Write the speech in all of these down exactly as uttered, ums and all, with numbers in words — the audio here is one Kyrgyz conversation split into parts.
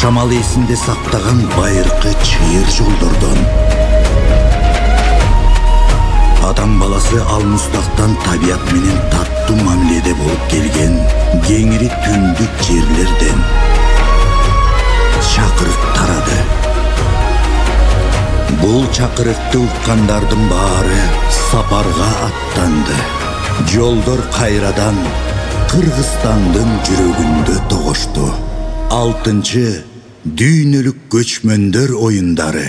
самал эсинде сактаган байыркы чыйыр жолдордон. Адам баласы алмустактан табият менен таттуу мамиледе болуп келген кеңири түндүк жерлерден чакырык тарады. Бул чакырыкты уккандардын баары сапарга аттанды. Жолдор кайрадан Кыргызстандын жүрөгүндө тогошту. Алтынчы дүйнөлүк көчмөндөр оюндары.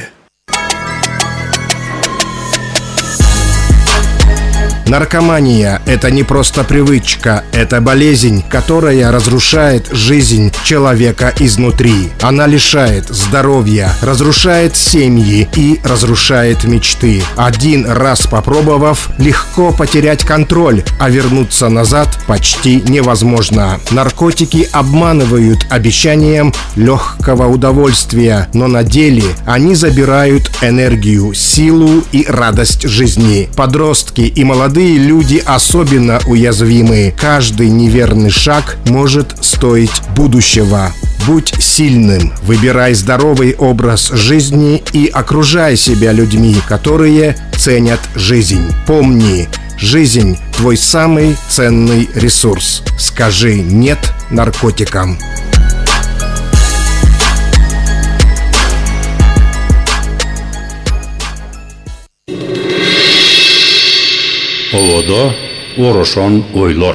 Наркомания – это не просто привычка, это болезнь, которая разрушает жизнь человека изнутри. Она лишает здоровья, разрушает семьи и разрушает мечты. Один раз попробовав, легко потерять контроль, а вернуться назад почти невозможно. Наркотики обманывают обещанием легкого удовольствия, но на деле они забирают энергию, силу и радость жизни. Подростки и молодые люди особенно уязвимы. Каждый неверный шаг может стоить будущего. Будь сильным, выбирай здоровый образ жизни и окружай себя людьми, которые ценят жизнь. Помни, жизнь – твой самый ценный ресурс. Скажи «нет» наркотикам. Оводо орошон ойлор.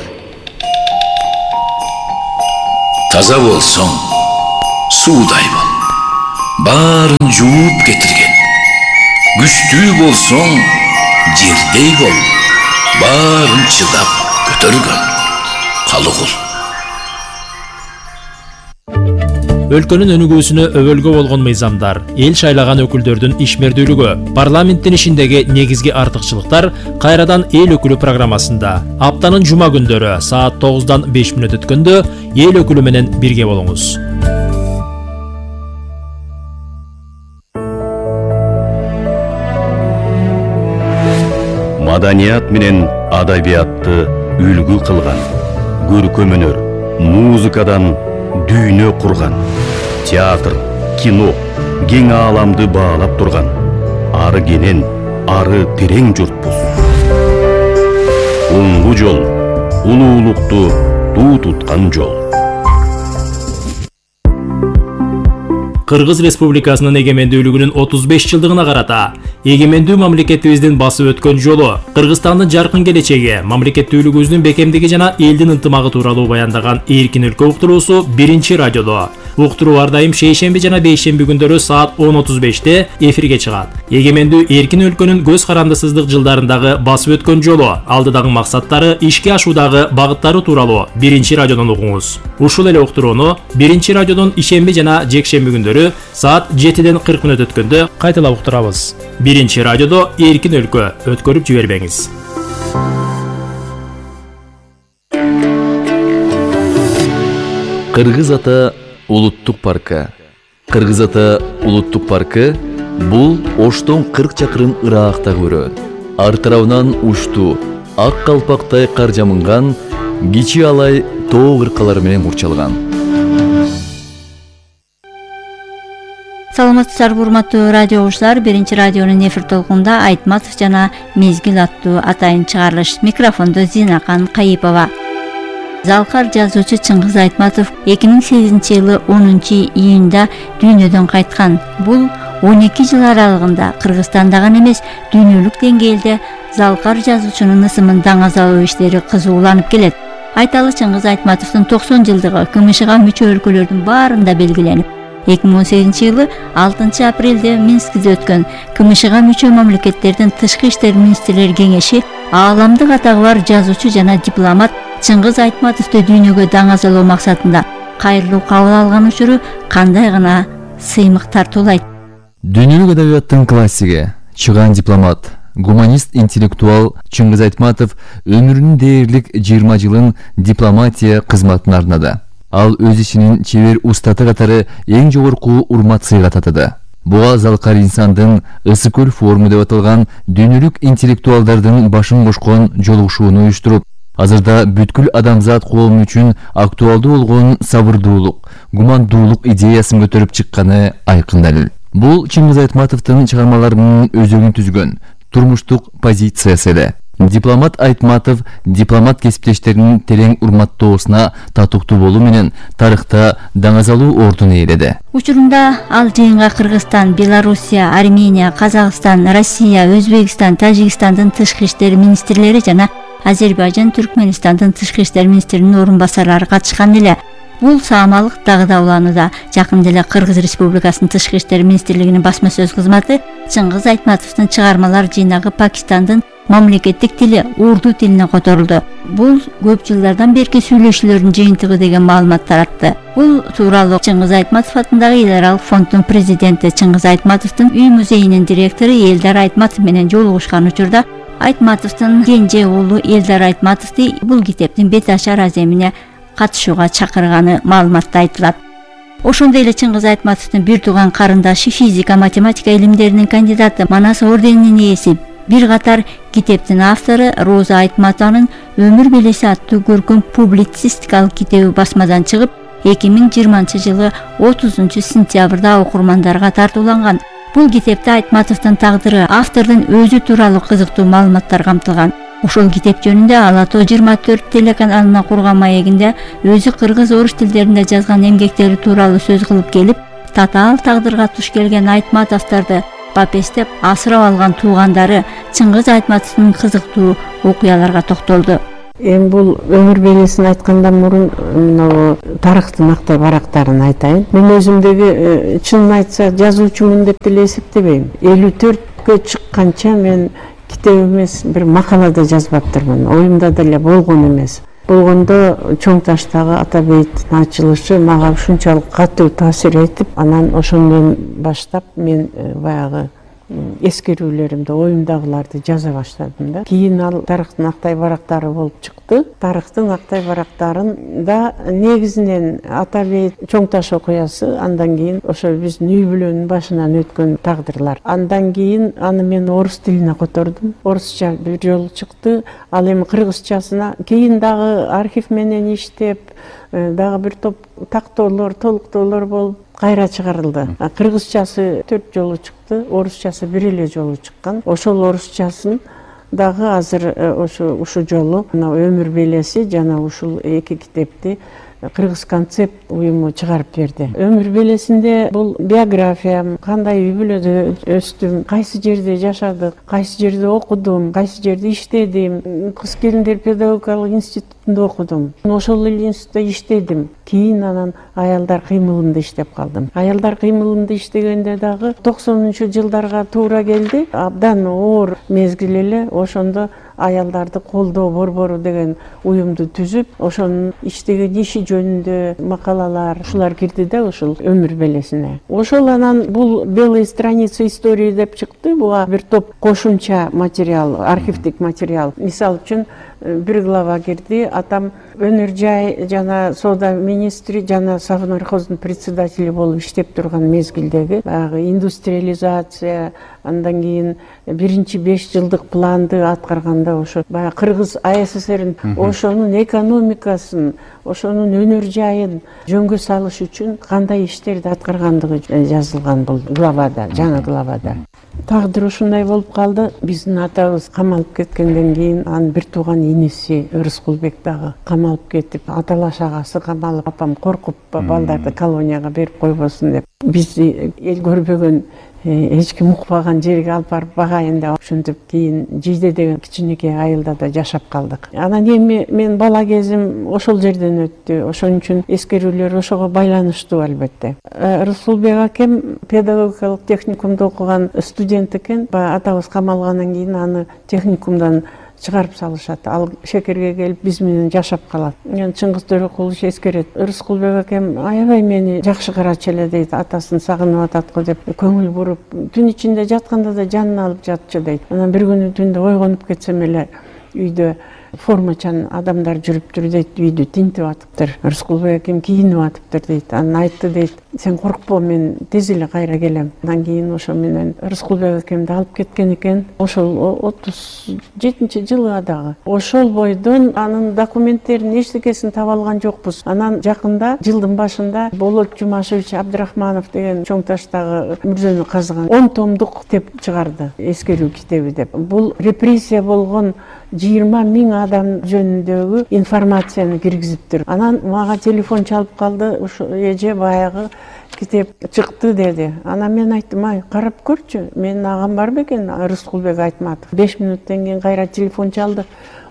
Таза болсоң, суудай бол. Баарын жууп кетирген. Күчтүү болсоң, жердей бол. Баарын чыдап көтөргөн. Калыгыл. Өлкөнүн өнүгүүсүнө өбөлгө болгон мыйзамдар, эл шайлаган өкүлдөрдүн ишмердүүлүгү, парламенттин ишиндеги негизги артыкчылыктар кайрадан эл өкүлү программасында. Аптанын жума күндөрү саат тогуздан беш мүнөт өткөндө эл өкүлү менен бирге болуңуз. Маданият менен адабиятты үлгү кылган, көркөм өнөр, музыкадан дүйнө курган, театр, кино, кең ааламды баалап турган, ары кенен, ары терең журтпуз. Оңгу жол, улуулукту туу туткан жол. Кыргыз Республикасынын эгемендүүлүгүнүн отуз беш жылдыгына карата эгемендүү мамлекетибиздин басып өткөн жолу, Кыргызстандын жаркын келечеги, мамлекеттүүлүгүбүздүн бекемдиги жана элдин ынтымагы тууралуу баяндаган Эркин өлкө уктуруусу биринчи радиодо. Уктуруу ар дайым шейшемби жана бейшемби күндөрү саат он отуз беште эфирге чыгат. Эгемендүү эркин өлкөнүн көз карандысыздык жылдарындагы басып өткөн жолу, алдыдагы максаттары, ишке ашуудагы багыттары тууралуу биринчи радиодон угуңуз. Ушул эле уктурууну биринчи радиодон ишемби жана жекшемби күндөрү саат жетиден кырк мүнөт өткөндө кайталап уктурабыз. Биринчи радиодо Эркин өлкө, өткөрүп жибербеңиз. Кыргыз ата улуттук паркы. Кыргыз ата улуттук паркы бул Оштон кырк чакырым ыраагакта көрөт. Ар тарабынан уштуу, ак калпактай кар жамынган, кичи алай тоо кыркалары менен курчалган. Саламатсыздарбы урматтуу радио угуучулар, биринчи радионун эфир толкунда Айтматов жана Мезгил аттуу атайын чыгарылыш. Микрофондо Зинакан Кайыпова. Залкар жазуучу Чыңгыз Айтматов эки миң сегизинчи жылы онунчу июнда дүйнөдөн кайткан. Бул он эки жыл аралыгында Кыргызстанда гана эмес, дүйнөлүк деңгээлде Залкар жазуучунун ысымын даңазалоо иштери кызууланып келет. Айталы, Чыңгыз Айтматовдун токсон жылдыгы КМШга мүчө өлкөлөрдүн баарында белгиленип, эки миң он сегизинчи жылы алтынчы апрелде Минскиде өткөн КМШга мүчө мамлекеттердин тышкы иштер министрлери кеңеши ааламдык атагы бар жазуучу жана дипломат Чыңгыз Айтматовду дүйнөгө даңазалоо максатында кайрылуу кабыл алган учуру кандай гана сыймык тартуулайт. Дүйнөлүк адабияттын классиги, чыган дипломат, гуманист, интеллектуал Чыңгыз Айтматов өмүрүнүн дээрлик жыйырма жылын дипломатия кызматына арнады. Ал өз ишинин чебер устаты катары эң жогорку урмат сыйга татыды. Буга Залкар инсандын Ысык көл форуму деп аталган дүйнөлүк интеллектуалдардын башын кошкон жолугушууну уюштуруп, Азырда бүткүл адамзат коому үчүн актуалдуу болгон сабырдуулук, гумандуулук идеясын көтөрүп чыкканы айкын далил. Бул Чыңгыз Айтматовдун чыгармаларынын өзөгүн түзгөн турмуштук позициясы эле. Дипломат Айтматов дипломат кесиптештеринин терең урматтоосуна татыктуу болуу менен тарыхта даңазалуу ордун ээледи. Учурунда ал жыйынга Кыргызстан, Белоруссия, Армения, Казакстан, Россия, Өзбекстан, Тажикстандын тышкы иштер министрлери жана Азербайжан, Түркмөнстандын тышкы иштер министринин орун басарлары катышкан эле. Бул саамалык дагы да уланууда. Жакында эле Кыргыз Республикасынын тышкы иштер министрлигинин басма сөз кызматы Чыңгыз Айтматовдун чыгармалар жыйнагы Пакистандын мамлекеттик тили урду тилине которулду. Бул көп жылдардан берки сүйлөшүүлөрдүн жыйынтыгы деген маалымат таратты. Бул тууралуу Чыңгыз Айтматов атындагы эл аралык фонддун президенти, Чыңгыз Айтматовдун үй музейинин директору Элдар Айтматов менен жолугушкан учурда Айтматовдун кенже уулу Элдар Айтматовду бул китептин бет ашар аземине катышууга чакырганы маалыматта айтылат. Ошондой эле Чыңгыз Айтматовдун бир тууган карындашы физика, математика илимдеринин кандидаты, Манас орденинин ээси, бир катар китептин автору Роза Айтматованын Өмүр белеси аттуу көркөм публицистикалык китеби басмадан чыгып, эки миң жыйырманчы жылы отузунчу сентябрда окурмандарга тартууланган. Бул китепте Айтматовдун тагдыры, автордун өзү тууралуу кызыктуу маалыматтар камтылган. Ошол китеп жөнүндө Ала тоо жыйырма төрт телеканалына курган маегинде өзү кыргыз, орус тилдеринде жазган эмгектери тууралуу сөз кылып келип, татаал тагдырга туш келген Айтматовдорду бапестеп асырап алган туугандары Чыңгыз Айтматовдун кызыктуу окуяларга токтолду. Эми бул өмүр белесин айткандан мурун мына тарыхтын актай барактарын айтайын. Мен өзүмдөгү чынын айтса жазуучумун деп деле эсептебейм. элүү төрткө чыкканча мен китеп эмес, бир макалада жазбаптырмын. Оюмда деле болгон эмес. Болгондо Чоң таштагы Атабейттин ачылышы мага ушунчалык катуу таасир этип, анан ошондон баштап мен баягы эскерүүлөрүмдү, оюмдагыларды жаза баштадым да. Кийин ал тарыхтын актай барактары болуп чыкты. Тарыхтын актай барактарында негизинен Атабейт Чоң таш окуясы, андан кийин ошо биздин үй бүлөнүн башынан өткөн тагдырлар. Андан кийин аны мен орус тилине котордум. Орусча бир жолу чыкты. Ал эми кыргызчасына кийин дагы архив менен иштеп, дагы бир топ тактоолор, толуктоолор болуп кайра чыгарылды. Кыргызчасы төрт жолу чыкты, орусчасы бир эле жолу чыккан. Ошол орусчасын дагы азыр ошо ушу жолу Өмүр белеси жана ушул эки китепти Кыргыз концепт уюму чыгарып берди. Өмүр белесинде бул биографиям, кандай үй бүлөдө өстүм, кайсы жерде жашадык, кайсы жерде окудум, кайсы жерде иштедим, кыз келиндер педагогикалык институтунда окудум. Ошол эле институтта иштедим. Кийин анан аялдар кыймылында иштеп калдым. Аялдар кыймылында иштегенде дагы токсонунчу жылдарга туура келди. Абдан оор мезгил эле. Ошондо аялдарды колдоо борбору деген уюмду түзүп, ошонун иштеген иши жөнүндө макалалар ушулар кирди да ушул өмүр белесине. Ошол анан бул белые страницы истории деп чыкты. Буга бир топ кошумча материал, архивдик материал. Мисалы үчүн бир глава кирди. Атам өнөр жай жана соода министри жана совнархоздун председатели болуп иштеп турган мезгилдеги баягы индустриализация, андан кийин биринчи беш жылдык планды аткарганда ошо баягы Кыргыз АССРдин ошонун экономикасын, ошонун өнөр жайын жөнгө салыш үчүн кандай иштерди аткаргандыгы жазылган бул главада, жаңы главада. Тагдыр ушундай болуп калды. Биздин атабыз камалып кеткенден кийин анын бир тууган иниси Рыскулбек дагы камалып кетип, аталаш агасы камалып, апам коркуп балдарды колонияга берип койбосун деп. Бизди эл көрбөгөн, эч ким укпаган жерге алып барып багайын деп ошентип кийин Жийде деген кичинекей айылда да жашап калдык. Анан эми мен бала кезим ошол жерден өттү. Ошон үчүн эскерүүлөр ошого байланыштуу албетте. Рыскулбек акем педагогикалык техникумда окуган студент экен. Атабыз камалгандан кийин аны техникумдан чыгарып салышат. Ал Шекерге келип биз менен жашап калат. Мен Чыңгыз Төрөкулович эскерет. Рыскулбек акем аябай мени жакшы карачу эле дейт. Атасын сагынып атат го деп көңүл буруп, түн ичинде жатканда да жанын алып жатчу дейт. Анан бир күнү түндө ойгонуп кетсем эле үйдө формачан адамдар жүрүптүр дейт, үйдү тинтип атыптыр. Рыскулбек акем кийинип атыптыр дейт. Анан айтты дейт, сен коркпо, мен тез эле кайра келем. Андан кийин ошо менен Рыскулбек экемди алып кеткен экен. Ошол отуз жетинчи жылы дагы. Ошол бойдон анын документтерин эчтекесин таба алган жокпуз. Анан жакында жылдын башында Болот Жумашевич Абдрахманов деген чоң таштагы мүрзөнү казган он томдук китеп чыгарды, эскерүү китеби деп. Бул репрессия болгон жыйырма миң адам жөнүндөгү информацияны киргизиптир. Анан мага телефон чалып калды, ушу эже баягы китеп чыкты деди. Анан мен айттым, ай, карап көрчү, менин агам бар бекен, Рыскулбек Айтматов. беш мүнөттөн кийин кайра телефон чалды.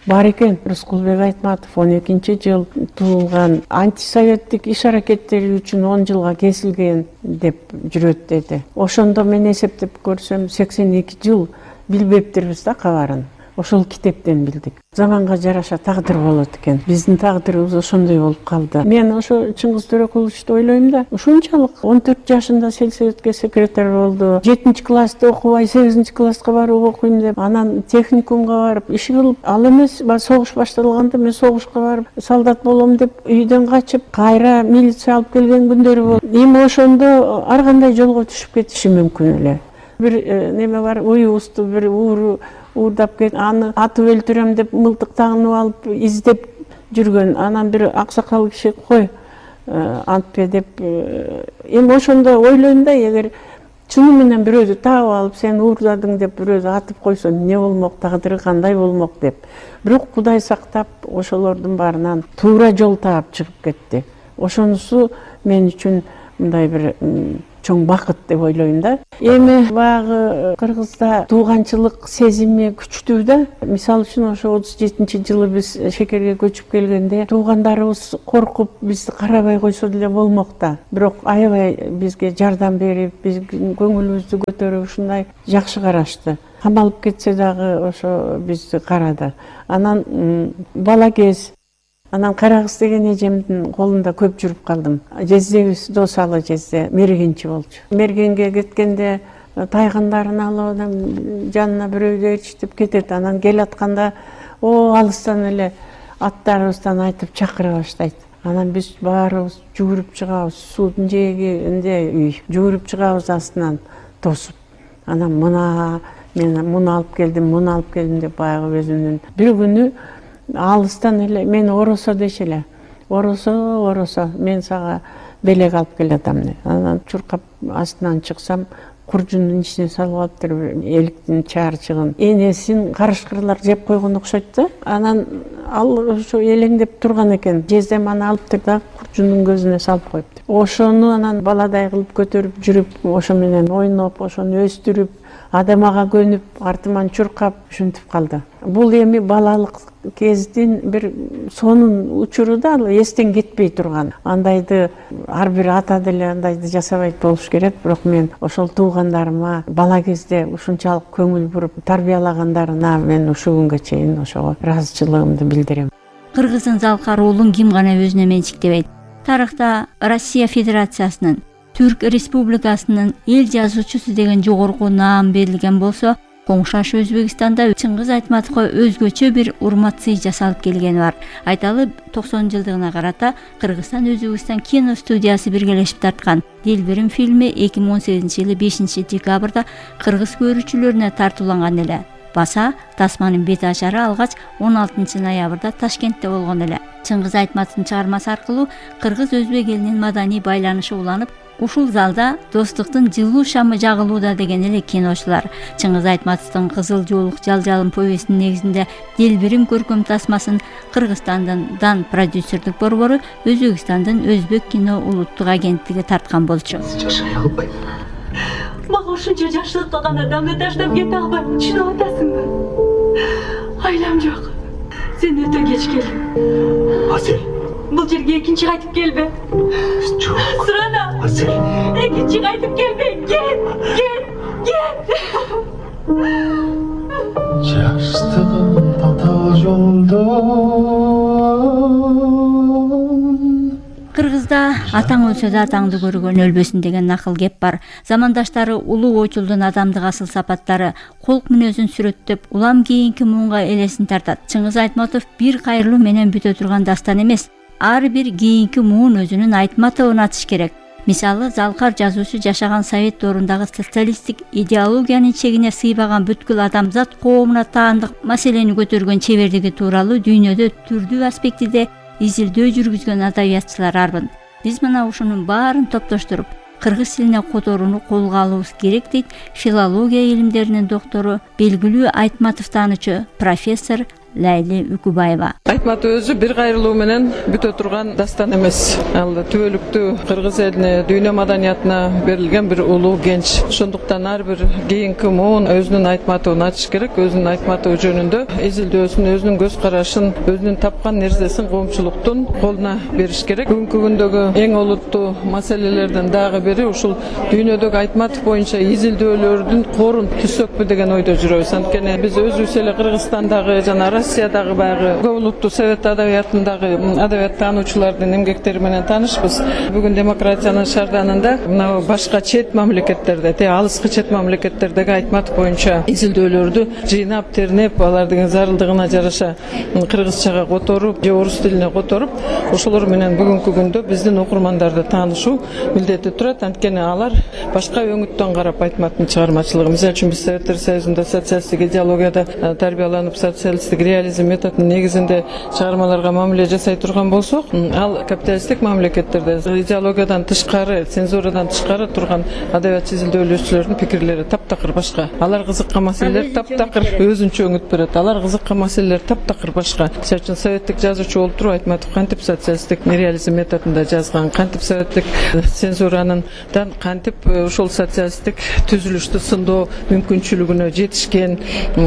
Бар экен, Рыскулбек Айтматов он экинчи жыл туулган, антисоветтик иш-аракеттери үчүн он жылга кесилген деп жүрөт деди. Ошондо мен эсептеп көрсөм сексен эки жыл билбептирбиз да кабарын. Ошол китептен билдик. Заманга жараша тагдыр болот экен. Биздин тагдырыбыз ошондой болуп калды. Мен ошо Чыңгыз Төрөкуловичти ойлойм да. Ушунчалык он төрт жашында сельсоветке секретарь болду. жетинчи класста окубай сегизинчи класска барып окуйм деп, анан техникумга барып иш кылып, ал эмес, согуш башталганда мен согушка барып солдат болом деп үйдөн качып, кайра милиция алып келген күндөрү болду. Эми ошондо ар кандай жолго түшүп кетиши мүмкүн эле. Бир неме бар, уюбузду бир ууру уурдап кет, аны атып өлтүрөм деп мылтык тагынып алып издеп жүргөн. Анан бир аксакал киши кой антпе деп. Эми ошондо ойлойм да, эгер чыны менен бирөөдү таап алып сен уурдадың деп бирөөдү атып койсо эмне болмок, тагдыры кандай болмок деп. Бирок Кудай сактап ошолордун баарынан туура жол таап чыгып кетти. Ошонусу мен үчүн мындай бир чоң бакыт деп ойлойм да. Эми баягы Кыргызда тууганчылык сезими күчтүү да. Мисалы үчүн ошо отуз жетинчи жылы биз шекерге көчүп келгенде туугандарыбыз коркуп бизди карабай койсо деле болмок да. Бирок аябай бизге жардам берип, биздин көңүлүбүздү көтөрүп ушундай жакшы карашты. Камалып кетсе дагы ошо бизди карады. Анан бала кез, анан Карагыз деген эжемдин колунда көп жүрүп калдым. Жездебиз досалы жезде мергенчи болчу. Мергенге кеткенде тайгандарын алып адам жанына бирөөгө ээрчитип кетет. Анан кел атканда о алыстан эле аттарыбыздан айтып чакыра баштайт. Анан биз баарыбыз жүгүрүп чыгабыз, суудун жээгинде үй, жүгүрүп чыгабыз астынан тосуп. Анан мына мен муну алып келдим, муну алып келдим деп баягы өзүнүн. Бир күнү алыстан эле мени оросо дешеле. Оросо, оросо, мен сага белек алып келатам деп. Анан чуркап астынан чыксам, куржундун ичине салып алыптыр эликтин чаарчыгын. Энесин карышкырлар жеп койгон окшойт да. Анан ал ошо элеңдеп турган экен. Жездем аны алыптыр да куржундун көзүнө салып коюптур. Ошону анан баладай кылып көтөрүп жүрүп, ошо менен ойноп, ошону өстүрүп, адамага көнүп, артыман чуркап ушинтип калды. Бул эми балалык кездин бир сонун учуру да, эстен кетпей турган. Андайды ар бир ата деле андайды жасабайт болуш керек, бирок мен ошол туугандарыма бала кезде ушунчалык көңүл буруп тарбиялагандарына мен ушул күнгө чейин ошого ыраазычылыгымды билдирем. Кыргыздын Залкар уулун ким гана өзүнө менчиктебейт. Тарыхта Россия Федерациясынын, Түрк Республикасынын эл жазуучусу деген жогорку наам берилген болсо, коңшаш Өзбекстанда Чыңгыз Айтматовго өзгөчө бир урмат-сый жасалып келгени бар. Айталы токсон жылдыгына карата Кыргызстан Өзбекстан кино студиясы биргелешип тарткан Делберим фильми эки миң он сегизинчи жылы бешинчи декабрда кыргыз көрүүчүлөрүнө тартууланган эле. Баса тасманын бет ачары алгач он алтынчы ноябрда Ташкентте болгон эле. Чыңгыз Айтматовдун чыгармасы аркылуу кыргыз-өзбек элинин маданий байланышы уланып, ушул залда достуктун жылуу шамы жагылууда деген эле киночулар. Чыңгыз Айтматовдун Кызыл жоолук жалжалым повестинин негизинде Делберим көркөм тасмасын Кыргызстандын Дан продюсердик борбору Өзбекстандын Өзбек кино улуттук агенттиги тарткан болчу. Жашай албайм. Мага ушунча жашылык кылган адамды таштап кете албайм. Түшүнүп атасыңбы? Айлам жок. Сен өтө кеч келдиң. Асель. Бул жерге экинчи кайтып келбе. Жок. Сурана. Асель. Экинчи кайтып келбе. Кет, кет, кет. Жаштыгым татал жолдо. Кыргызда атаң өлсө да атаңды көргөн өлбөсүн деген накыл кеп бар. Замандаштары улуу ойчулдун адамдык асыл сапаттары, колк мүнөзүн сүрөттөп, улам кийинки муунга элесин тартат. Чыңгыз Айтматов бир кайрылуу менен бүтө турган дастан эмес. Ар бир кийинки муун өзүнүн Айтматовун атыш керек. Мисалы, Залкар жазуучу жашаган Совет доорундагы социалисттик идеологиянын чегине сыйбаган бүткүл адамзат коомуна таандык маселени көтөргөн чебердиги тууралуу дүйнөдө түрдүү аспектиде изилдөө жүргүзгөн адабиятчылар арбын. Биз мына ушунун баарын топтоштуруп, кыргыз тилине которууну колго алуубуз керек дейт филология илимдеринин доктору, белгилүү Айтматов таануучу профессор Лайли Үкүбаева. Айтматов өзү бир кайрылуу менен бүтө турган дастан эмес. Ал түбөлүктүү кыргыз элине, дүйнө маданиятына берилген бир улуу генч. Ошондуктан ар бир кийинки муун өзүнүн Айтматовун ачыш керек, өзүнүн Айтматов жөнүндө изилдөөсүн, өзүнүн көз карашын, өзүнүн тапкан нерсесин коомчулуктун колуна бериш керек. Бүгүнкү күндөгү эң олуттуу маселелерден дагы бири ушул дүйнөдөгү Айтматов боюнча изилдөөлөрдүн корун түзсөкпү деген ойдо жүрөбүз. Анткени биз өзүбүз эле Кыргызстандагы жана Россиядагы баягы көп улуттуу совет адабиятындагы адабият таануучулардын эмгектери менен таанышпыз. Бүгүн демократиянын шарданында мына башка чет мамлекеттерде, те алыскы чет мамлекеттердеги Айтматов боюнча изилдөөлөрдү жыйнап, тернеп, алардын зарылдыгына жараша кыргызчага которуп, же орус тилине которуп, ошолор менен бүгүнкү күндө биздин окурмандарды таанышуу милдети турат. Анткени алар башка өңүттөн карап Айтматовдун чыгармачылыгы, мисалы үчүн биз Советтер Союзунда социалисттик идеологияда тарбияланып, социалисттик реализм методунун негизинде чыгармаларга мамиле жасай турган болсок, ал капиталисттик мамлекеттерде идеологиядан тышкары, цензурадан тышкары турган адабият изилдөөлөөчүлөрдүн пикирлери таптакыр башка. Алар кызыккан маселелер таптакыр өзүнчө өңүт берет. Алар кызыккан маселелер таптакыр башка. Мисалы үчүн советтик жазуучу болуп туруп Айтматов кантип социалисттик реализм методунда жазган, кантип советтик цензуранын кантип ошол социалисттик түзүлүштү сындоо мүмкүнчүлүгүнө жетишкен.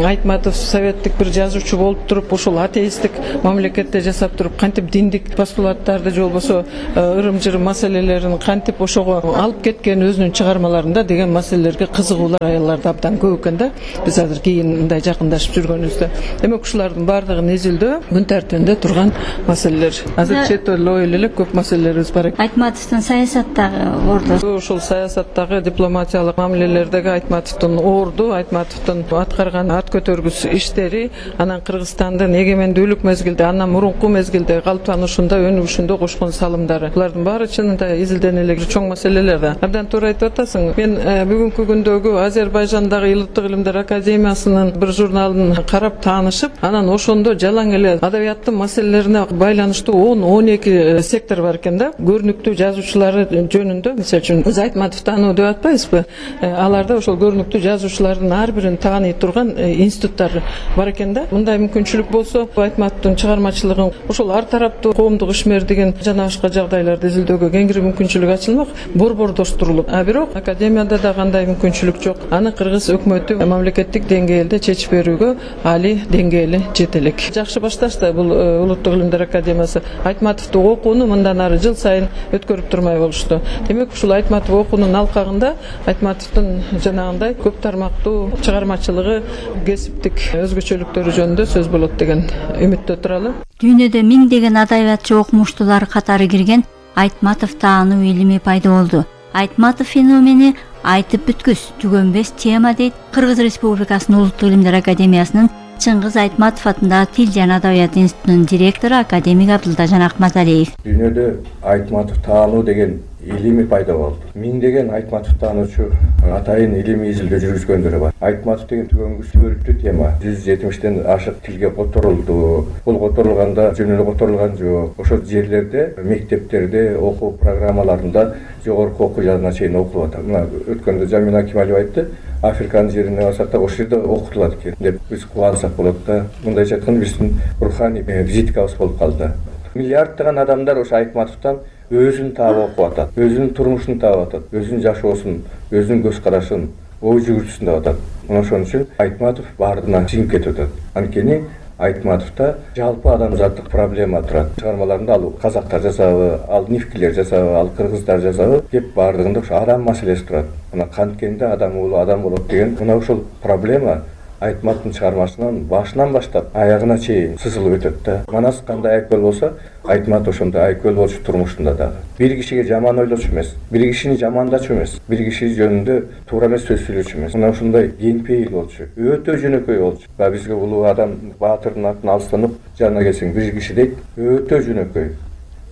Айтматов советтик бир жазуучу болуп туруп, ошол атеисттик мамлекетте жашап туруп, кантип диндик постулаттарды же болбосо ырым-жырым маселелерин кантип ошого алып кеткен өзүнүн чыгармаларында деген маселелерге кызыгуулар аялларда абдан көп экен да. Биз азыр кийин мындай жакындашып жүргөнүбүздө. Демек ушулардын баардыгын изилдөө күн тартибинде турган маселелер. Азыр чет эле эле көп маселелерибиз бар экен. Айтматовдун саясаттагы орду. Ошол саясаттагы дипломатиялык мамилелердеги Айтматовдун орду, Айтматовдун аткарган ат көтөргүс иштери, анан Кыргызстандын эгемендүүлүк мезгилде, андан мурунку мезгилде калыптанышында, өнүгүшүндө кошкон салымдары. Булардын баары чынында изилдене эле чоң маселелер да. Абдан туура айтып атасың. Мен бүгүнкү күндөгү Азербайжандагы Илиттик илимдер академиясынын бир журналын карап таанышып, анан ошондо жалаң эле адабияттын маселелерине байланыштуу он он эки сектор бар экен да. Көрүнүктүү жазуучулары жөнүндө, мисалы үчүн биз Айтматов таануу деп атпайбызбы? Аларда ошол көрүнүктүү жазуучулардын ар бирин тааный турган институттар бар экен да. Мындай мүмкүнчүлүк болсо, Айтматовдун чыгармачылыгын ошол ар тараптуу коомдук ишмердигин жана башка жагдайларды изилдөөгө кеңири мүмкүнчүлүк ачылмак, борбордоштурулуп. А бирок академияда да кандай мүмкүнчүлүк жок. Аны кыргыз өкмөтү мамлекеттик деңгээлде чечип берүүгө али деңгээли жете элек. Жакшы башташ да бул Улуттук илимдер академиясы. Айтматовду окууну мындан ары жыл сайын өткөрүп турмай болушту. Демек ушул Айтматов окуунун алкагында Айтматовдун жанагындай көп тармактуу чыгармачылыгы, кесиптик өзгөчөлүктөрү жөнүндө сөз болот деген үмүттө туралы. Дүйнөдө миңдеген адабиятчы окумуштуулар катары кирген Айтматов таануу илими пайда болду. Айтматов феномени айтып бүткүс, түгөнбөс тема дейт Кыргыз Республикасынын Улуттук илимдер академиясынын Чыңгыз Айтматов атындагы Тил жана адабият институтунун директору академик Абдылдажан Акматалиев. Дүйнөдө Айтматов таануу деген илими пайда болду. Миңдеген Айтматов таануучу атайын илимий изилдөө жүргүзгөндөр бар. Айтматов деген түгөнгүс көрүктүү тема. жүз жетимиштен ашык тилге которулду. Бул которулганда жөн эле которулган жок. Ошол жерлерде, мектептерде, окуу программаларында жогорку окуу жагына чейин окулуп атат. Мына өткөндө Жамина Акималиева айтты, Африканын жерине барсак да ошол жерде окутулат экен деп биз кубансак болот да. Мындайча айтканда биздин руханий визиткабыз болуп калды. Миллиарддаган адамдар ошо Айтматовдон өзүн таап окуп атат, өзүнүн турмушун таап атат, өзүнүн жашоосун, өзүнүн көз карашын, ой жүгүртүүсүн таап атат. Мына ошон үчүн Айтматов баарынан жиңип кетип атат. Анткени Айтматовдо жалпы адамзаттык проблема турат. Чыгармаларында ал казактар жасабы, ал нивкилер жасабы, ал кыргыздар жасабы деп баардыгында ошо адам маселеси турат. Мына канткенде адам уулу адам болот деген мына ошол проблема Айтматовдун чыгармасынан башынан баштап аягына чейин сызылып өтөт да. Манас кандай айкөл болсо, Айтматов ошондой айкөл болчу турмушунда дагы. Бир кишиге жаман ойлочу эмес, бир кишини жамандачу эмес, бир киши жөнүндө туура эмес сөз сүйлөчү эмес. Мына ушундай кеңпейил болчу, өтө жөнөкөй болчу. Ба бизге улуу адам баатырдын атын алыстан ук жанына келсең бир киши дейт, өтө жөнөкөй.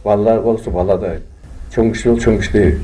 Балалар болсо баладай, чоң киши болсо чоң кишидей.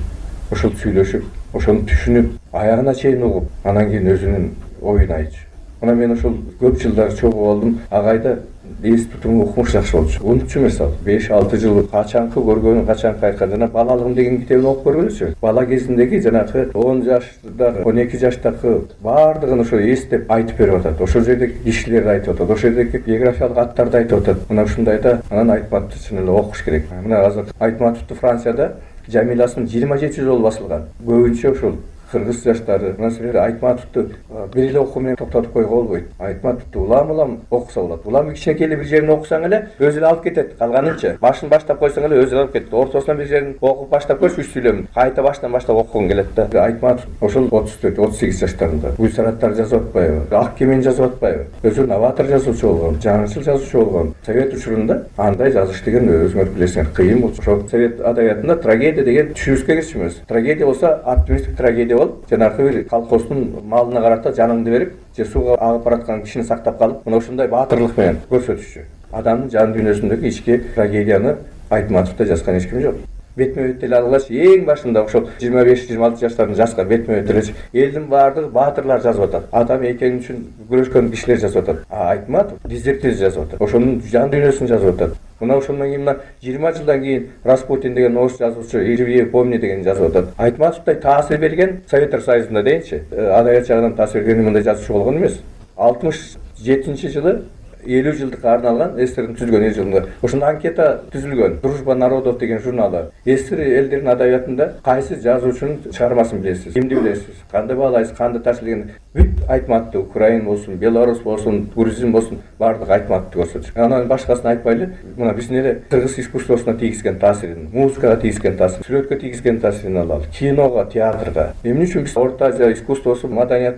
ошол сүйлөшүп, ошону түшүнүп, аягына чейин угуп, анан кийин өзүнүн оюн айтчу. Мына мен ошол көп жылдар чогуу болдум. Агайда эс тутуму укмуш жакшы болчу. Унутчу эмес ал. беш алты жыл качанкы көргөнүн, качанкы айткан. Жана балалыгым деген китебин окуп көргүлөчү. Бала кезиндеги жанагы он жаштагы, он эки жаштагы баардыгын ошо эстеп айтып берип атат. Ошол жердеги кишилерди айтып атат. Ошол жердеги географиялык аттарды айтып атат. Мына ушундайда анан Айтматовду чын эле окуш керек. Мына азыр Айтматовду Францияда Жамиласын жыйырма жети жолу басылган. Көбүнчө ошол кыргыз жаштары мына силер Айтматовду бир эле окуу менен токтотуп койгонго болбойт. Айтматовду улам улам окуса болот. Улам кичинекей эле бир жерин окусаң эле өзү эле алып кетет. Калганынча башын баштап койсоң эле өзү эле алып кетет. Ортосунан бир жерин окуп баштап койсо үч сүйлөмүн кайта баштан баштап окугуң келет да. Айтматов ошол отуз төрт отуз сегиз жаштарында Гүлсараттар жазып атпайбы, Ак кемени жазып атпайбы, өзү новатор жазуучу болгон, жаңычыл жазуучу болгон. Совет учурунда андай жазыш деген өзүңөр билесиңер кыйын болчу. Ошол совет адабиятында трагедия деген түшүнүшкө кирчү эмес. Трагедия болсо оптимисттик трагедия болуп, жанагы бир колхоздун малына карата жаныңды берип, же сууга агып бараткан кишини сактап калып, мына ушундай баатырлык менен көрсөтүшчү. Адамдын жан дүйнөсүндөгү ички трагедияны Айтматовдо жазган эч ким жок. Бетме бет деле алгыч эң башында ошол жыйырма беш жыйырма алты жаштарын жазган бетме бет деле элдин баардыгы баатырлар жазып атат. Адам экени үчүн күрөшкөн кишилер жазып атат. А Айтматов дезертир жазып атат. Ошонун жан дүйнөсүн жазып атат. Мына ошондон кийин мына жыйырма жылдан кийин Распутин деген орус жазуучу «Живее помни» деген жазып атат. Айтматовдой таасир берген Советтер Союзунда дейинчи, адабият жагынан таасир берген мындай жазуучу болгон эмес. алтымыш жетинчи жылы элүү жылдыкка арналган СССРдин түзүлгөн элүү жылында ошондо анкета түзүлгөн. Дружба народов деген журналы. СССР элдеринин адабиятында кайсы жазуучунун чыгармасын билесиз, кимди билесиз, кандай баалайсыз, кандай таасир деген бүт Айтматовду, Украин болсун, Белорус болсун, грузин болсун, баардыгы Айтматовду көрсөтүш. Анан башкасын айтпайлы, мына биздин эле кыргыз искусствосуна тийгизген таасирин, музыкага тийгизген таасирин, сүрөткө тийгизген таасирин алалы, киного, театрга. Эмне үчүн биз Орто Азия искусствосу, маданияты